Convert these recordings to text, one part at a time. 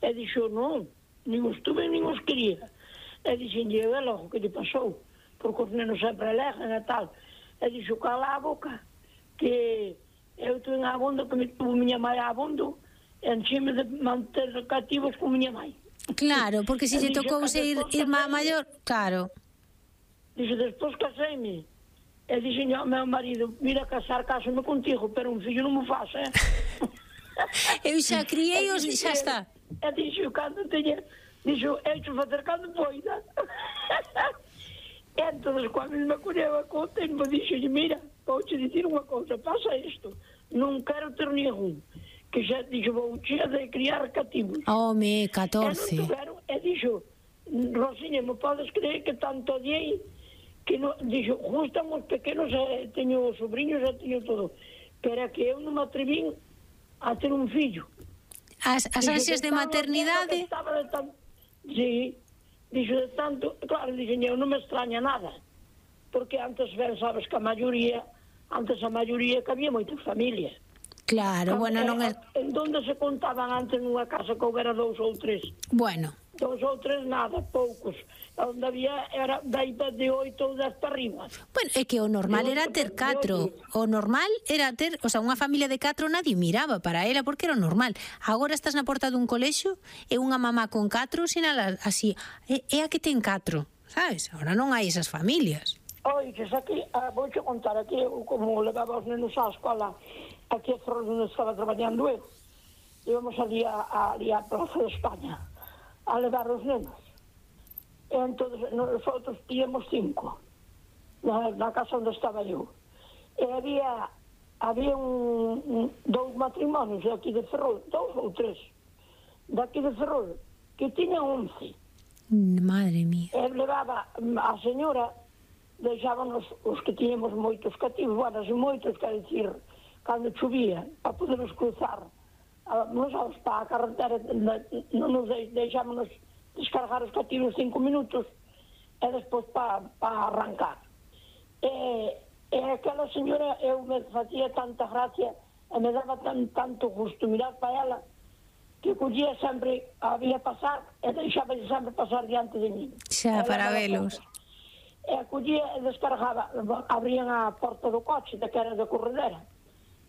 E dixo, non, nin os tuve, nin os quería. E dixen, e logo, que lle pasou? Porque os nenos sempre alegan e tal. E dixo, cala a boca, que eu tuve abondo, que me tuvo miña mãe abondo, enchime de manter cativos con miña mãe. Claro, porque se lle tocou ser irmá maior, claro. Dixo, despois caseime. E dixen ao meu marido, mira, casame contigo, pero un fillo non me faz, Eu xa criei-os e xa está. E dixo, cando teña, dixo, eu te facer cando poida. E entón, cando me colleu a conta, e me dixo, mira, vou te dicir unha cousa, pasa isto, non quero ter ningún, que xa, dixo, vou che de criar cativos. Home, 14. E non tuveron, e dixo, Rosiña, me podes creer que tanto odiei, que no, dixo, gustan os pequenos, teño sobrinhos, teño todo, pero que eu non me atrevín a ter un fillo. As ansias de maternidade? Sí, dixo de tanto, claro, dixen, eu non me extraña nada, porque antes, ben, sabes que a maioría que había moitas familias. Claro, bueno, non é... En donde se contaban antes nunha casa que houbera 2 ou 3? Bueno. 2 ou 3 nada, poucos. Onde había era de 8 ou 10 para arriba. Bueno, é que o normal era ter 4. O normal era ter, o sea, unha familia de 4 nadie miraba para ela porque era o normal. Agora estás na porta dun colexio e unha mamá con 4 sinala así, é a que ten 4, sabes? Agora non hai esas familias. Oiches, aquí, vou che contar aquí, como levaba os nenos á escola, aquí a Ferrol onde estaba traballando eu. Íbamos ali a Plaza de España a levar os nenos. E entón, nosotros íamos 5 na casa onde estaba eu. E había 2 matrimonios de aquí de Ferrol, 2 ou 3 daqui de Ferrol, que tiñan 11. Madre mía. E levaba a señora, deixábanos os que tiñamos moitos cativos, bueno, moitos, quer dicir, cando chovía, para podernos cruzar, nos para a carretera, non nos deixámonos descargar os cativos 5 minutos e despois para arrancar. E aquela señora, eu me facía tanta gracia e me daba tanto gusto mirar para ela, que collía sempre, había pasar e deixaba sempre pasar diante de mí. Xa, para velos. E collía e descargaba, abrían a porta do coche, que era de corredera.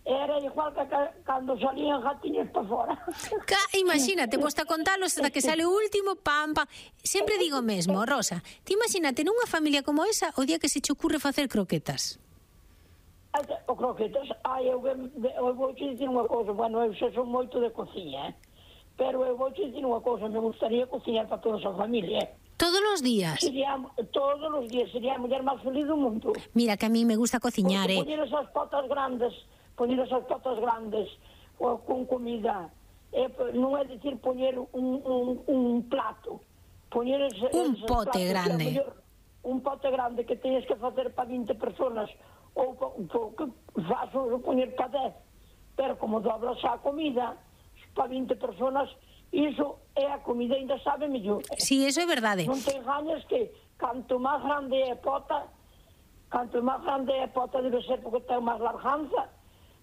Era igual que cando salían gatiños para fora. Imagínate, posta contalos hasta que sale o último, pam, pam. Sempre digo mesmo, Rosa, ti imagínate nunha familia como esa o día que se che ocurre facer croquetas. O croquetas, eu vou te dicir unha cousa, bueno, eu xa son moito de cociña, pero eu vou te dicir unha cousa, me gustaría cociñar para toda a familia, Todos os días? Todos os días, sería a muller máis feliz do mundo. Mira, que a mí me gusta cociñar, Poñer esas potas grandes con comida, non é dicir poñer un plato, poñer un pote grande. Un pote grande que teñes que facer para 20 personas, ou que faz poñer para 10, pero como doblas a comida para 20 personas, iso é a comida, ainda sabe mellor. Si, eso é verdade. Non te engañes que canto máis grande é a pota debe ser porque ten máis larganza,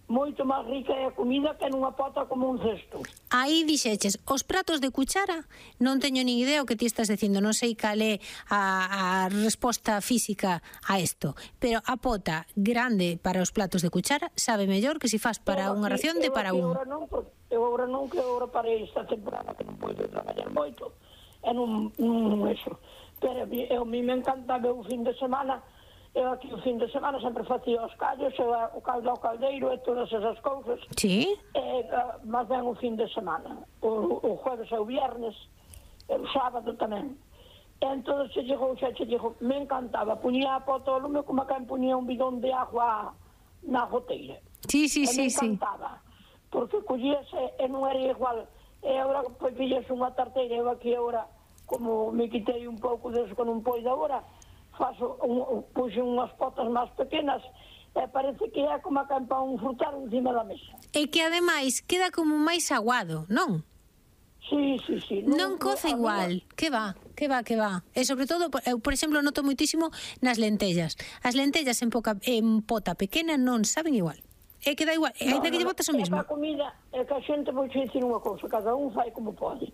moito máis rica é a comida que nunha pota como un cesto. Aí dixeches, os pratos de cuchara, non teño ni idea o que ti estás dicindo, non sei cal é a resposta física a isto, pero a pota grande para os platos de cuchara sabe mellor que se faz para unha ración de para un. Eu agora non, que agora para esta temporada que non podo traballar moito, e non eso. Pero a mí me encantaba o fin de semana. Eu aquí o fin de semana sempre facía os callos, o caldo ao caldeiro e todas esas cousas. Sí? Mas ben o fin de semana, o jueves e o viernes, e o sábado tamén. E entón se chegou, me encantaba, puñía a pota ao lume como quen puñía un bidón de agua na goteira. Sí. Me encantaba, porque collíase e non era igual. E agora, pois, pillase unha tarteira, eu aquí agora, como me quitei un pouco deso que non poido agora, puxen unhas potas máis pequenas e parece que é como a campa un frutal encima da mesa. E que ademais queda como máis aguado, non? Sí. Non coce igual, que va. E sobre todo, eu, por exemplo, noto moitísimo nas lentellas. As lentellas en pota pequena non saben igual. E queda igual, ainda que lle botas o mesmo. É que a comida, é que a xente, vou dicir unha cousa, cada un fai como pode.